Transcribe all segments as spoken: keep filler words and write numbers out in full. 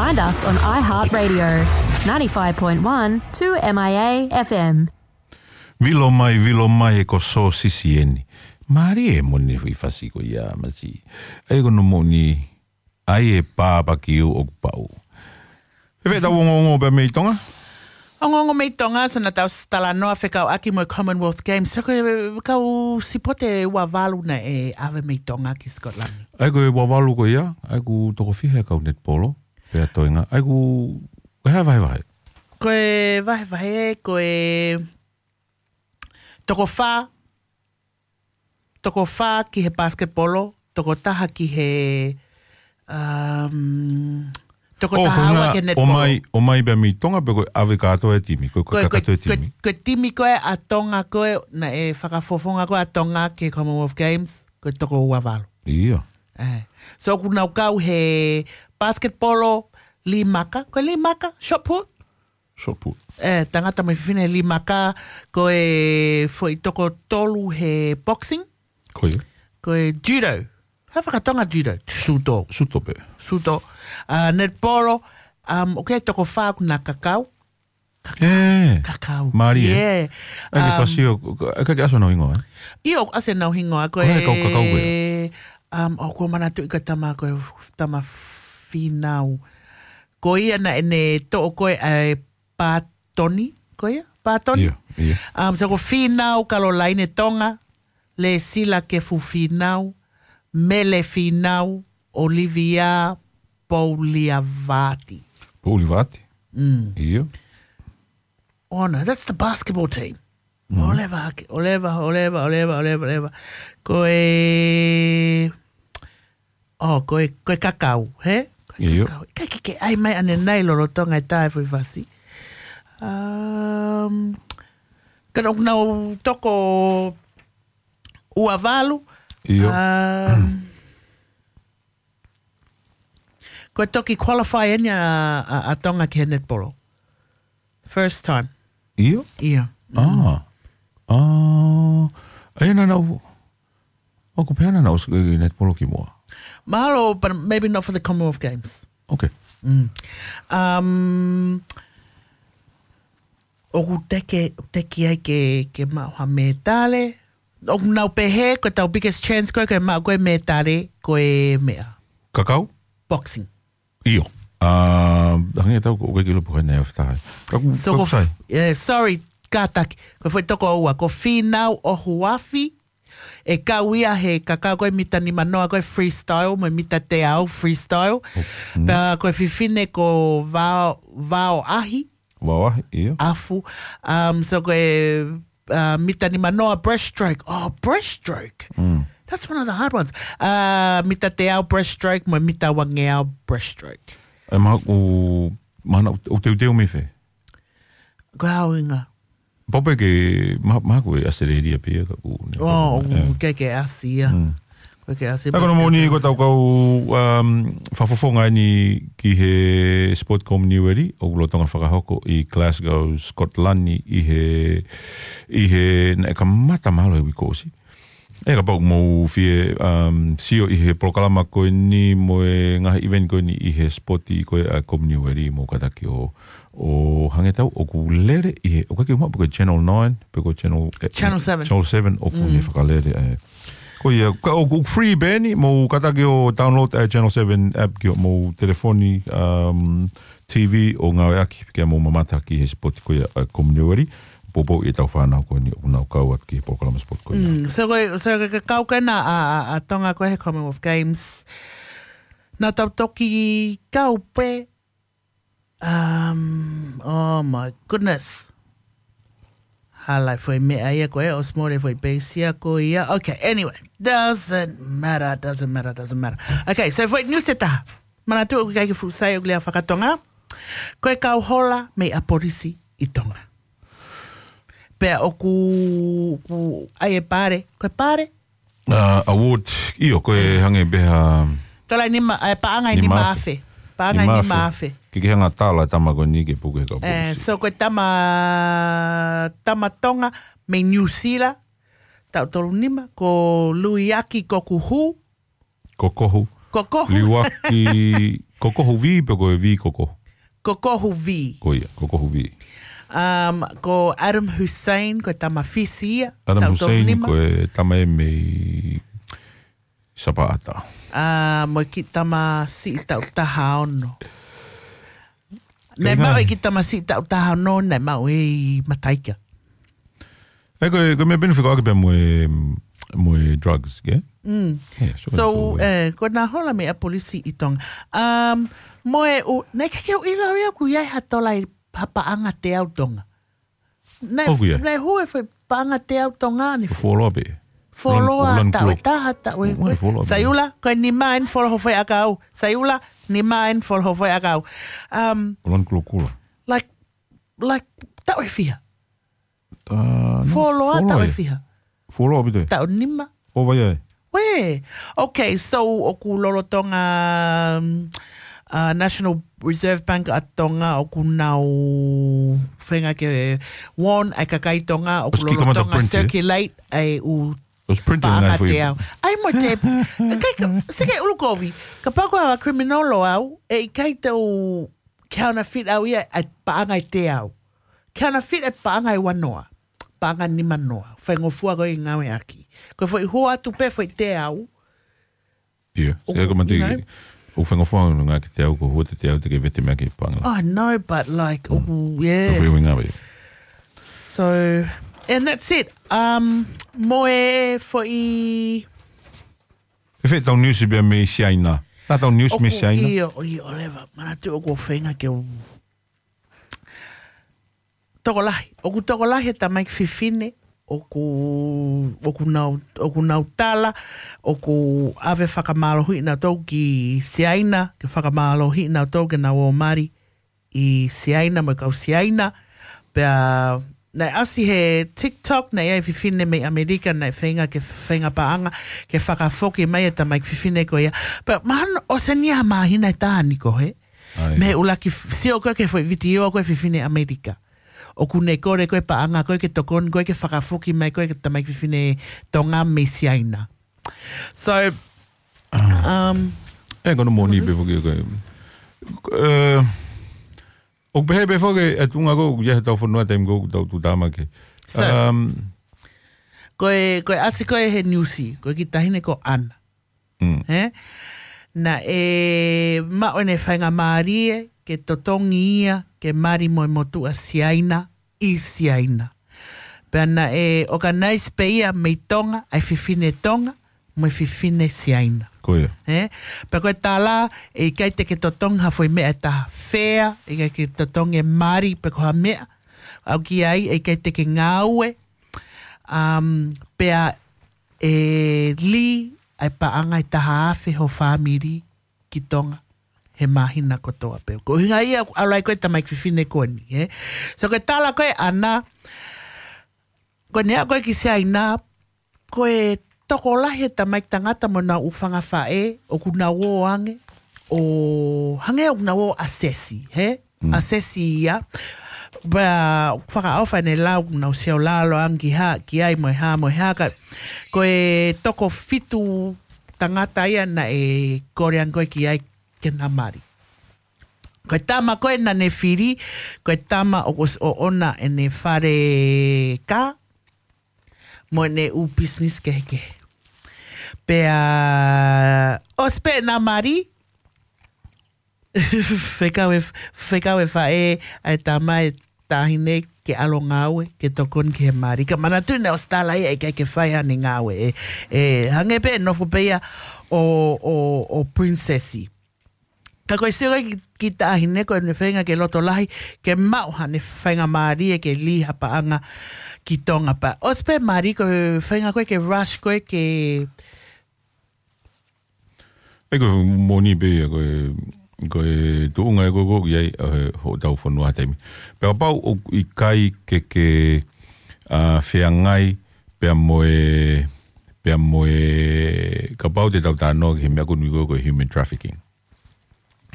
Find us on iHeartRadio, ninety-five point one two M I A F M. Vilo mai, vilo mai e ko Sōsisi eni. Mālie e moni fai fasi ko ia masi. Ai ko no moni, ai e pāpaki ʻoku pau. Fēfē ʻetau ongoongo pea mei Tonga? Ongoongo mei Tonga, so naʻa tau talanoa fekauʻaki mo e Commonwealth Games. So ko e kau sipote ua valu naʻe ʻave mei Tonga ki Scotland. Ai ko e ua valu ko ia, ai ʻoku toko fiha e kau netipolo, pea toenga. Ai ʻoku, ko e hā e vahevahe? Ko e vahevahe, ko e toko fā, toko fā ki he basketball, toko taha ki he, um, toko Oh, taha ko e ua ngā ki he netipolo. ʻO mai, ʻo mai pea mei Tonga pe ko e ʻave kātoa e timi, ko e, ko e Ko e, ko e, kātoa e ko e, timi. ko e timi ko ē ʻa Tonga ko ē, naʻe fakafofonga ko ē ʻa Tonga ki he Commonwealth Games, ko e toko ua valu. ʻIo. Eh. So ʻoku nau kau he basketball, lī maka, ko e lī maka, shot put? Shot put. Eh, tangata mo e fefine lī maka, ko e foʻi toko tolu he boxing. Ko ia. Ko e judo. Hā fakatonga judo? Suto. Suto pē. Suto. Ah, netipolo, um, ʻoku ʻi ai e toko fā ʻoku na kakau. Kakau. Eh, Kakau. Mālie, eh? Yeah. Ai, ke Um, fasi ʻo, ka, ka ke ʻasi honau hingoa, eh? ʻIo, ʻoku ʻasi honau hingoa, ko Ko e e, kau kakau ko ē? um, ʻoku ou manatuʻi ko e tama, ko e tama Fīnau. Ko ia naʻa ne toʻo ko ē ʻa e pātoni, ko ia? Pātoni? ʻIo, ʻio. Um, so ko Fīnau Kalolaine Tonga, Lēsila Kefu Fīnau, Mele Fīnau, Olivia Pouliavati. Pouliavati? Mm. ʻIo. Oh, no, that's the basketball team. Mm. ʻOleva hake, ʻoleva, ʻoleva, ʻoleva, ʻoleva, ʻoleva. Ko e, oh, ko e, ko e kakau, he? Ko e ʻIo. kakau. Ka ke, ke ʻai mai ʻanenai lolotonga e tae fui fasi. Um, ka nau, nau toko ua valu. ʻIo. Um, ko e toki qualify eni ʻa, ʻa, ʻa Tonga ki he netipolo. First time. ʻIo? ʻIo. Ah. Ah. Ai, naʻa nau, ʻoku pehē naʻa nau ʻosi ki he netipolo kimuʻa. Mahalo, but maybe not for the Commonwealth Games. Okay. Mm. Um, ʻoku teke, teke ai ke, ke maʻu ha mētale. ʻOku nau pehē, ko ʻetau biggest chance ko ē, ko e maʻu ko ē mētale, ko e meʻa. Kakau? Boxing. ʻIo. Ah, hangē tau ko ʻoku ke ʻilo pe ko e hā e after. Ka ʻoku, So ʻoku ko, sai. eh, sorry, kātaki. Ko e foʻi toko ua, ko Fīnau ʻOhuafi, ʻe kau ia he kakau ko e mita nima noa ko e freestyle, mo e mita teau freestyle. Oh, mm. Pea ko e fefine ko Vao, Vao Ahi. Vao Ahi, ʻio. Afu. Um, so ko e, uh, mita nima noa breaststroke. Oh, breaststroke. Mm. That's one of the hard ones. Uh, mita teau breaststroke, mo e mita uangeau breaststroke. E maha ʻoku, mahalo ʻoku teuteu mei fē? Ko e ʻuhinga. Pau pē ke, ma-, mahalo ko e ʻAositelēlia pē ia ka ʻoku ne Oh, pau, eh. ke, ke ʻasi ia. Mm. Ko e ke ʻasi Ka ko hono moʻoni ko ʻetau kau, um, fakafofonga eni ki he Sport Commonwealth, ʻoku lolotonga fakahoko ʻi Glasgow, Scotland, ʻi he, ʻi he, naʻe kamata mahalo he uike kuo ʻosi. ʻE kapau ʻoku mou fie, um, sio ʻi he polokalama ko eni mo e ngaahi event ko eni ʻi he sport ko ē ʻa Commonwealth, mou kātaki ʻo, ʻo hangē tau ʻoku lele ʻi he, ʻoku ʻikai ke u maʻu pe ko e Channel nine, pe ko e Channel, eh, Channel seven. Channel seven ʻoku Mm. ne fakalele, eh. Ko ia, ka ʻoku free pē eni, mou kātaki ʻo download e Channel seven app ki hoʻomou telefoni, um, T V ʻo ngāueʻaki, ke mou mamata ki he sport ko ia ʻa Commonwealth. Poupou ʻetau fānau ko eni ʻoku nau kau atu ki he polokalama sport ko ia. Mm, so ko e, so ko e kakau ko ena ʻa, ʻa, ʻa Tonga ko ē he Commonwealth Games. Naʻa tau toki kau pē, um, oh my goodness. Hala e foʻi meʻa ia ko ē, ʻosi mole e foʻi peisi ia ko ia. Okay, anyway, doesn't matter, doesn't matter, doesn't matter. Okay, so foʻi news ʻe taha. Manatuʻi ʻoku ʻikai ke fuʻu sai ʻoku lea fakatonga. Ko e kau hola mei ʻapolisi ʻi Tonga. Pea ʻoku, ʻoku ʻai e pale, ko e pale? Ah, award, ʻio, ko e Mm. hangē pē ha Tala nima, eh, paʻanga ʻe nima afe. Nima afe. Paʻanga ʻe Nima afe. nima afe. Ke, ke hanga tala tama ko eni ke puke kau Eh, polisi. So ko e tama, tama Tonga mei New Zealand, taʻu tolu nima, ko Luiaki Kokuhu. Kokohu. Kokohu. Liuaki Ko Kohu V pe ko e V ko Kohu? Ko Kohu V. Ko ia, ko Kohu V. Um, ko Adam Hussein, ko e tama Fisi ia. Adam Hussein, ko e tama ʻe mei Sapaʻata. A, mo e kiʻi tama siʻi taʻu taha ono. Naʻe maʻu e kiʻi tama siʻi taʻu taha ono, naʻe maʻu ʻi Mataika. E, ko e, ko e meʻa pē ʻoku fekauʻaki pē mo e, mo e drugs, ke? Mm. Yeah, sure, so, sure. Eh, ko e nā hola mei ʻapi polisi ʻi Tonga. Um, mo e, u, naʻe ʻikai ke u ʻilo ia ʻoku ʻi ai ha tola ʻi ha paʻanga teau Tonga. Naʻe, ʻoku ʻi ai. Naʻe hū e foʻi paʻanga teau Tonga ni. Fuoloa pē. Fuoloa, fuoloa taʻu ʻe taha, taʻu ʻe, fuoloa pē. Saiula, ko e nima eni fuoloa ho foʻi ʻakau. Saiula, nima eni fuoloa ho foʻi ʻakau. Um, fuoloa kulokula. Like, like, taʻu ʻe fiha? Fuoloa, taʻu ʻe fiha? Fuoloa ʻaupito. Taʻu nima. ʻO vai ai? Uē. Okay, so ʻoku lolotonga, um, uh, National Reserve Bank ʻa Tonga ʻoku nau feinga ke warn ʻa e kakai Tonga ʻoku lolotonga print, eh? Circulate ʻa e ʻū paʻanga teau. ʻAi mo te, kai ka, seke ʻulukovi, kapau ko ha criminal ʻoʻou, ʻe ʻikai te u counterfeit au ia ʻa e paʻanga ʻe teau. Counterfeit e paʻanga ʻe uanoa. Paʻanga nimanoa. Faingofua ko e ngāueʻaki. Ko e foʻi hū atu pē foʻi teau. Ia, ʻoku, ʻoku mati, you know? ʻOku faingofua ngā ke teau, ko hū atu teau te ke vete meʻa ki paʻanga. I know, but like, ʻoku, yeah. ʻOku faingofua ngā. So, and that's it. Um, mo e foʻi ʻE fē tau news pea mei Siaina? Nā tau news mei Siaina? ʻIo, ʻio, ʻo leva. Manatu ʻoku feinga ke u tokolahi. ʻOku tokolahi e tamaiki fefine, ʻoku, ʻoku nau, ʻoku nau tala, ʻoku ʻave fakamālohiʻi nautolu ki Siaina, ke fakamālohiʻi nautolu ke nau ō mali ʻi Siaina, mo e kau Siaina. Pea, naʻe ʻasi he TikTok, naʻe ʻi ai e fefine mei ʻAmelika, naʻe feinga ke feinga paʻanga, ke fakafoki mai e tamaiki fefine ko ia. Pea, mahalo ʻosi eni ha māhina ʻe taha ni ko ē. ʻAi. Mei he ʻuluaki f-, sio ko ē ki he foʻi vitiō ko ē fefine ʻAmelika. ʻOku ne kole ko ē paʻanga ko ē ke tokoni ko ē ke fakafoki mai ko ē ki he tamaiki fefine Tonga mei Siaina. So, um, ʻE, ko hono moʻoni pē foki ko e, eh, ʻoku pehē pē foki e tuʻunga ko ē, ʻoku ʻi ai hotau fonua taimi ko ē ʻoku tau tuʻutāmaki. So, um, ko e, ko e ʻasi ko ē he news, ko e kiʻi taʻahine ko ʻAna. Mm. He? Naʻe maʻu ʻene faingamālie ke totongi ia ke mali mo e motuʻa Siaina ʻi Siaina. Pea naʻe organize pē ia mei Tonga, ʻa e fefine Tonga, mo e fefine Siaina. Ko ia. He? Pea ko e tala, ʻe ʻikai te ke totongi ha foʻi meʻa ʻe taha fea, ʻe ʻikai ke totongi e mali pe ko ha meʻa. ʻAu ki ai, ʻe ʻikai te ke ngāue. Um, pea ʻe lī ʻa e paʻanga ʻe taha afe ho fāmili ki Tonga he māhina kotoa pē. Ko e ʻuhinga ia ʻoku ʻalu ai ko ē tamaiki fefine ko eni, ē? So ko e tala ko ē ʻAna, ko ʻene aʻu ko ē ki Siaina, ko e tokolahi e tamaiki tangata mo honau ʻū fanga faʻē, ʻoku nau ō ange, ʻo hangē ʻoku nau ō ʻo assess, he? Mm. Assess ia. Pea fakaʻofa ʻene lau, nau sio lalo ange ki hā, ki ai mo e hā, mo e hā, ka ko e toko fitu tangata ia naʻe kole ange ko ē ki ai ke na mali. Ko e tama ko ē naʻa ne fili, ko e tama ʻoku ʻosi ʻoʻona ʻene fale kā, mo ʻene ʻū business kehekehe. Pea, ʻosi pē na mali, fekau e, fekau e faʻē ʻa e tama e taʻahine ke ʻalu ʻo ngāue, ke tokoni ki he mali. Ka manatu naʻe ʻosi tala ia ʻe ʻikai ke fai haʻane ngāue, ē, ē, hangē pē nofo pē ia ʻo, ʻo, ʻo princess. Ka ko e sio ki, ki he taʻahine ko ʻene feinga ke loto lahi, ke maʻu haʻane faingamālie ke lī ha paʻanga ki Tonga pea. ʻOsi pē mali ko e feinga ko ē ke rush ko ē ke ʻE ko e moʻoni pē ia ko e, ko e tuʻunga ē ko ē ʻoku ʻi ai, ē, hotau fonua ha taimi. Pea kapau ʻoku ʻikai ke ke, ā, feangai pea mo e, pea mo e, kapau te tau talanoa ki he meʻa ko eni ko e, ko e human trafficking.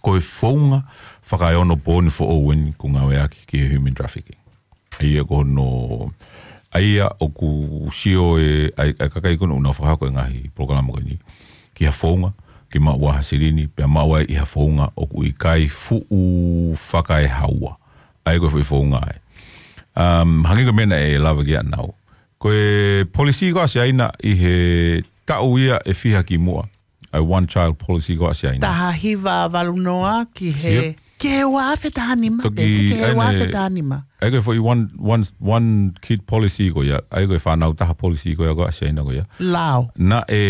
Ko e founga fakaeonopooni foʻou eni ʻoku ngāueʻaki ki he human trafficking. ʻA ia ko hono, ʻa ia ʻoku sio e, ʻa e, ʻa e kakai ko ena ʻoku nau fakahoko e ngaahi polokalama ko eni ki ha founga, ke maʻu ha silini, pea maʻu ai ʻi ha founga ʻoku ʻikai fuʻu fakaehaua. ʻA ia ko e foʻi founga ē. Um, hangē ko e meʻa naʻe lave ki ai ʻanenai. Ko e policy ko ē ʻa Siaina ʻi he taʻu ia ʻe fiha kimuʻa. ʻA e one child policy ko ē ʻa Siaina. Taha hiva valu noa ki he, Yep. ki he ua afe taha nima. Toki Pesi ki he ʻa ia ua afe taha nima. ʻA ia ko e foʻi one, one, one kid policy ko ia. ʻA ia ko e fānau taha policy ko ia ko ē ʻa Siaina ko ia. Lao. Naʻe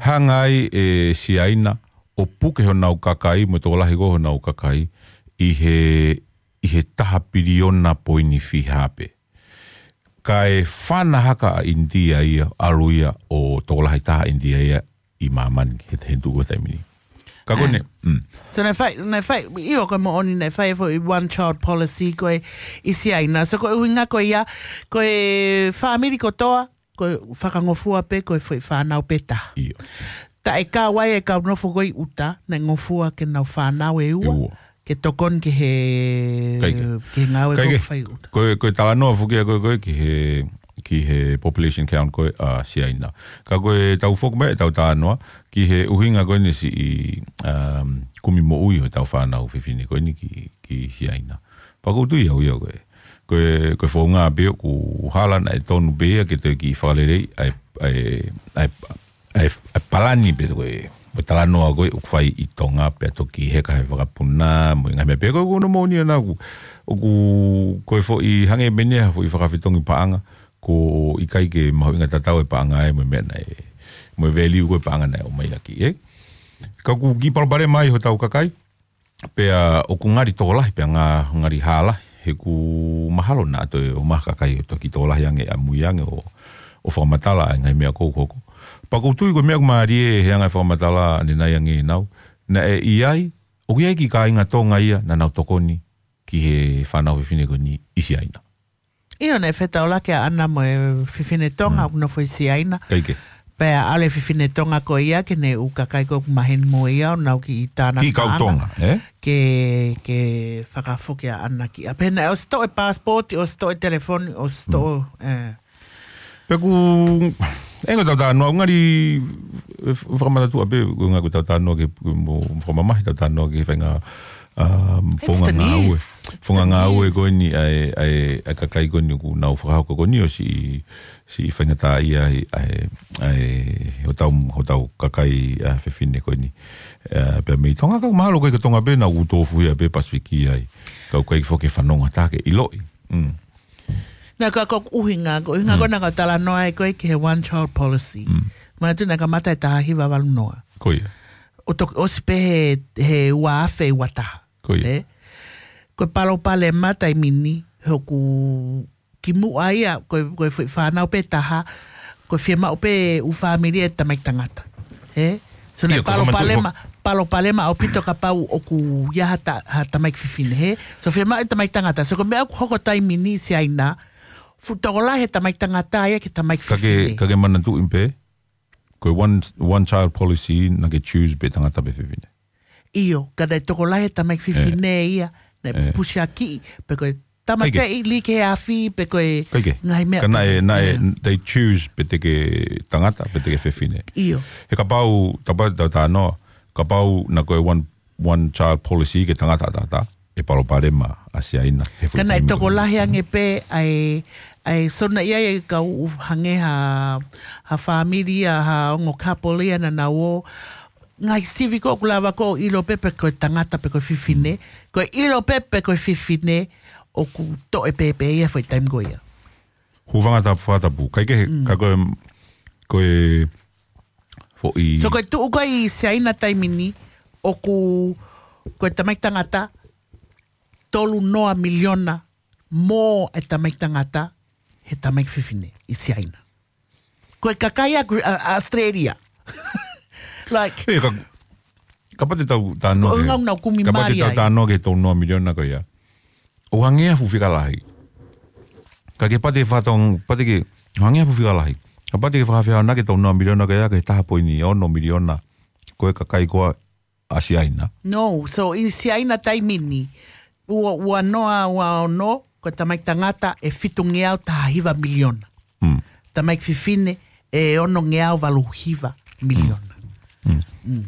hanga ai ʻe Siaina ʻo puke honau kakai, mo e tokolahi ko ē honau kakai, ʻi he, ʻi he taha piliona poini fiha pē. Kae fana hake ʻa ʻInitia ia, ʻalu ia ʻo tokolahi taha ʻInitia ia ʻi māmani, he, he tuʻu ko e taimi ni. Ka ko ʻene, mm. So naʻe fai, naʻe fai, ʻio ko e moʻoni naʻe fai e foʻi one child policy ko ē ʻi Siaina. So ko e ʻuhinga ko ia, ko e fāmili kotoa, ko e fakangofua pē, ko e foʻi fānau pē taha. ʻIo. Taʻe kau ai e kau nofo ko ē ʻi ʻuta, naʻe ngofua ke nau fānau ʻe ua, ʻE ua. ke tokoni ki he, Kae kehe. ki he ngāue Kae ko ē kehe. fai ʻi ʻuta. Ko e, ko e talanoa foki ia ko ē, ko ē ki he, ki he population count ko ē ʻa Siaina. Ka ko e tau foki mai, tau talanoa, ki he ʻuhinga ko eni siʻi, um, kumi moʻui ʻo e tau fānau fefine ko eni ki, ki Siaina. Pea ʻoku ou tui au ia ko e, ko e, ko e founga pē ʻoku hala naʻe tonu pē ia ke toe kiʻi fakaleleiʻi ʻa e, ʻa e, ʻa e, ʻa e, ʻa e palani pē ko e, mo e talanoa ko ē ʻoku fai ʻi Tonga pea toki heka he vakapuna, mo e ngaahi meʻa pē ko ē ʻoku nau moʻoni ʻana ʻoku, ʻoku, ko e foʻi hangē pē eni ha foʻi fakafetongi paʻanga, ko e ʻikai ke mahuʻinga tatau e paʻanga ē mo e meʻa naʻe, mo e value ko e paʻanga naʻe ʻomai ʻaki, ē? Ka ʻoku kiʻi palopalema ai hotau kakai, pea ʻoku ngali tokolahi, pea nga-, ngali hala, he ʻoku mahalo naʻa toe ʻomai ha kakai ʻo toki tokolahi ange ʻamui ange ʻo, ʻo fakamatala ʻa e ngaahi meʻa ko ē ʻoku hoko. Pea ʻoku ou tui ko e meʻa ʻoku mālie he anga e fakamatala ʻanenai ange ʻenau, naʻe ʻi ai, ʻoku ʻi ai e kiʻi kāinga Tonga ia naʻa nau tokoni ki he fānau fefine ko eni ʻi Siaina. ʻIo, naʻe fetaulaki ʻa ʻAna mo e fefine Tonga, Mm. ʻoku nofo ʻi Siaina. Kae kehe. Pea ʻalu e fefine Tonga ko ia ki heʻene ʻū kakai ko ē ʻoku maheni mo ia, ʻo nau kiʻi tānaki Kiʻi kau paʻanga. Tonga, ē? Ke, ke fakafoki ʻa ʻAna ki ʻapi. Pea naʻe ʻosi toʻo e passport, ʻosi toʻo e telefoni, ʻosi toʻo, Mm. ē. Pea ʻoku, ʻe ngaahi tau talanoa, ngali, ʻe f-, fakamatala atu pē, ko e ngaahi ko e tau talanoa ki he, mo fakamamahi tau talanoa ki he faʻahinga, um, founga Instantly. ngāue. Founga Instantly. ngāue ko eni ʻa e, ʻa e, ʻa e kakai ko eni ʻoku nau fakahoko ko eni ʻo siʻi, siʻi faingataʻaʻia ai, ʻa e, ʻa e, hotau, hotau kakai, ʻa, fefine ko eni. ʻA, pea mei Tonga ka mahalo ko e ka Tonga pē naʻa ʻoku tofuhia pē Pasifiki ai. Ka ʻoku ʻikai foki ke fanongo atu ke ʻiloʻi. Mm. Naʻa ka ko e ʻuhinga, ko e ʻuhinga Mm. ko ē naʻa ka talanoa ai ko ē ki he one child policy. Mm. Manatu naʻe kamata he taha hiva valu noa. Ko ia. ʻO toki ʻosi pē he, he ua afe ua taha. Ko ia. Ē? Ko e palopalema taimi ni, he ʻoku kimuʻa ia, ko e, ko e foʻi fānau pē taha, ko e fiemaʻu pē ʻū fāmili e tamaiki tangata. Ē? So naʻe ʻIo, ka ko e manatu palopalema, fo- palopalema ʻaupito kapau ʻoku ʻi ai ha ta-, ha tamaiki fefine, hē? So fiemaʻu e tamaiki tangata. So ko e meʻa ʻoku hoko taimi ni ʻi Siaina, fuʻu tokolahi e tamaiki tangata ia ki he tamaiki Ka ke, fefine. ka ke manatuʻi pē, ko e one, one child policy naʻa ke choose pē tangata pe fefine. ʻIo, ka naʻe tokolahi e tamaiki Ē. fefine ia, naʻe Ē. pusiakiʻi, pe ko e tamateʻi Kae kehe. lī ki he afi, pe ko e Kae kehe. ngaahi meʻa Ka naʻe, pehē. naʻe, Ē. they choose pe te ke tangata, pe te ke fefine. ʻIo. He kapau, tapa, ta, ta noa, kapau naʻa ko e one, one child policy ki he tangata ʻataʻatā, ʻe palopalema ʻa Siaina. He foʻi Ka naʻe taimi tokolahi ange pē ʻa e, ʻa e, so naʻe ʻi ai e kau hangē ha, ha fāmili ia, ha ongo couple ia naʻa nau ō, ngaahi sivi ko ē ʻoku lava ko ē ʻo ʻilo pē pe ko e tangata pe ko e fefine. Mm. Ko e ʻilo pē pe ko e fefine ʻoku toʻo e pēpē ia foʻi taimi ko ia. Hūfanga ta fakatapu. Kae kehe, Mm. ka ko e, ko e foʻi So ko e tuʻu ko ē ʻi Siaina taimi ni, ʻoku, ko e tamaiki tangata, tolu noa miliona mo e tamaiki tangata, he tamaiki fefine ʻi Siaina. Ko e kakai ʻa Gre-, ʻa, ʻa Australia. Like, Ē, ka, kapau te tau talanoa ko e ki he, ngau nau kumi kapau te mali tau ai. talanoa ki he tolu noa miliona ko ia. ʻOku hangē ha fuʻu fika lahi. Ka ke pate fatong, pate ke, hangē ha fuʻu fika lahi. Kapau te ke fakafehoanaki e tolu noa miliona ko ia ki he taha poini ono miliona. Ko e kakai ko ē ʻa Siaina. No, so ʻi Siaina taimi ni, ua, ua noa, ua ono, ko e tamaiki tangata ʻe fitungeau taha hiva miliona. Mm. Tamaiki fefine ʻe onongeau valu hiva miliona. Mm. Mm. Mm.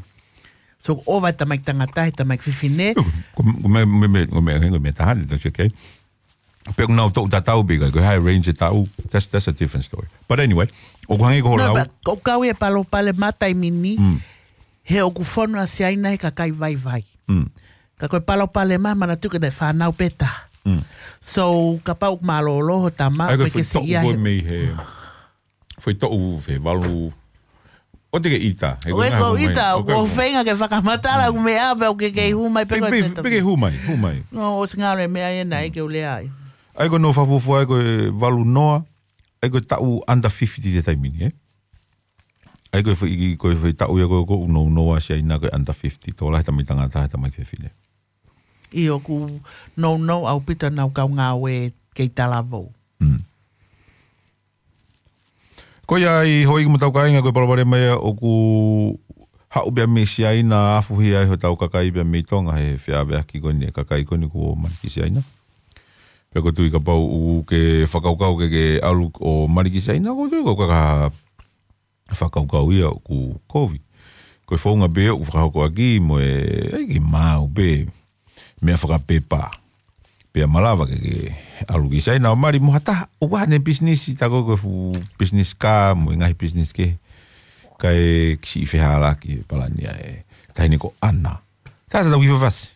So, ʻoku ʻova e tamaiki tangata, he tamaiki fefine. Ko, ko me, me, me, ko me, ko me taha, that's okay. Pe ʻoku nau toʻu tatau pe ʻikai, ko e high range e taʻu, that's, that's a different story. But anyway, ʻoku hangē ko hoʻo No, lau. but ʻoku kau e palopalema taimi ni, Mm. he ʻoku fonu ʻa Siaina he kakai vaivai. Mm. Ka ko e palopalema, manatuʻi ko e fānau pē taha. Mm. So, kapau ʻoku mālōlō ho tama, ʻAi, ko e ʻoku ʻikai ke foʻi toʻu siʻi ia ko he mei he, foʻi toʻu fē, valu. ʻOua te ke ʻita, he ʻOku ʻikai ko ngaahi ʻita, hū mai. ʻOku ʻikai ko feinga ke fakamatala, ʻoku meʻa, pe ʻoku ke kei hū mai, pe Pe, ko pe, te pe ke hū mai, hū mai. No, ʻosi ngalo e meʻa ʻena, ʻai ke u lea ai. ʻAi ko hono fakafuofua, ʻai ko e valu noa, ʻai ko e taʻu under fifty te taimi ni, ē? ʻAi ko e foʻi, ko e foʻi taʻu ia ko, ko ʻoku nounou ʻa Siaina ko e under fifty, tokolahi tamaiki tangata, tamaiki fefine. ʻIo, ʻoku nounou ʻaupito ʻenau kau ngāue kei talavou. Mm. Ko ia ai, houʻeiki mo e tau kāinga, ko e palopalema ia ʻoku haʻu pē ia mei Siaina, afuhi ai hotau kakai pē ia mei Tonga he feʻaveʻaki ko eni e kakai ko eni kuo mali ki Siaina. Pea ʻoku ou tui kapau ʻoku ke fakakaukau ke ke ʻalu ʻo mali ki Siaina, ʻoku ou tui ko e kaka fakakaukau ia ʻoku kovi. Ko e founga pē ʻoku fakahoko ʻaki mo e, ʻai ke maʻu pē meʻa fakapepa. Pea malava ke ke ʻalu ki Siaina ʻo mali mo ha taha, ʻoku ʻi ai haʻane pisinisi, tā ko e fuʻu pisinisi kā mo e ngaahi pisinisi kehe. Kae kiʻi fehālaaki e palani ʻa e taʻahine ko ʻAna. Tā tatau ki fafasi.